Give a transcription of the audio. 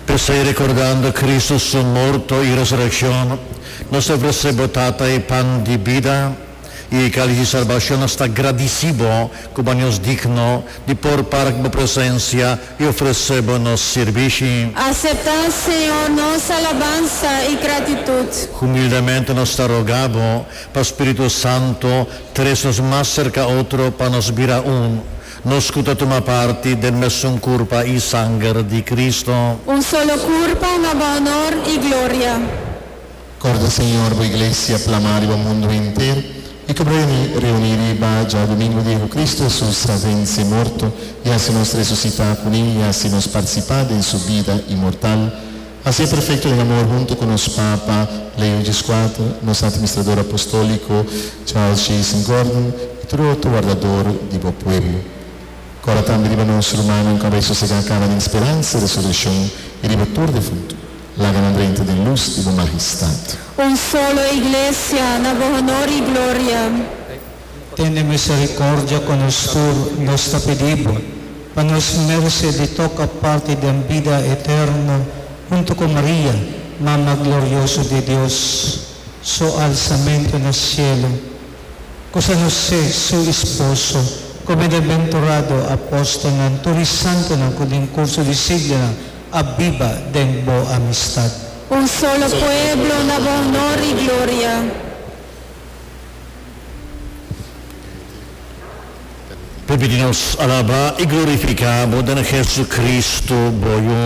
P'esei, rekordando Kristu su morto i resurekshon, nos ta ofresé bo, Tata, e pan di bida i e kalis di salbashon. Nos ta gradisí bo ku bo a nos digno di por para ku bo presensia i ofresé bo nos sirbishi. Aseptá, Señor, nos alabansa i gratitut. Humildemente nos ta rogá bo pa Spiritu Santu trese nos mas serka otro pa nos bira un. Nos ku ta tuma parti den mesun kurpa i sanger di Cristo. Un solo kurpa na bo honor i gloria. Kòrda, Señor, bo Iglesia plamá riba mundu henter, i ku bo reuní riba djadumingu di ku Cristo Hesus a vense morto i hasi nos resusitá kuné i hasi nos partisipá den su bida inmortal. Hasié perfekto den amor huntu ku nos Papa Leo Xvi, nos Administrador Apostóliko Charles Jason Gordon i tur otro wardador di bo pueblo. Kòrda tambe riba nos rumannan ku a bai sosegá kaba den speransa di resurekshon i riba tur defuntu. Laga nan drenta den lus di bo Mahestat. Un solo Iglesia, na bo honor i gloria. Tene misericordia cu nos tur, nos ta pidi Bo, pa nos merece di toca parti den bida eterno hunto cu Maria, Mama glorioso di Dios. Su alsamento na cielo, cu San José, su esposo, cu bienaventurado apostelnan, tur e santonan cu den curso di siglonan a biba den Bo amistad. Un solo pueblo na Bo honor y gloria. Permiti nos alabá i glorifiká Bo den Jesucristo, Bo Yu.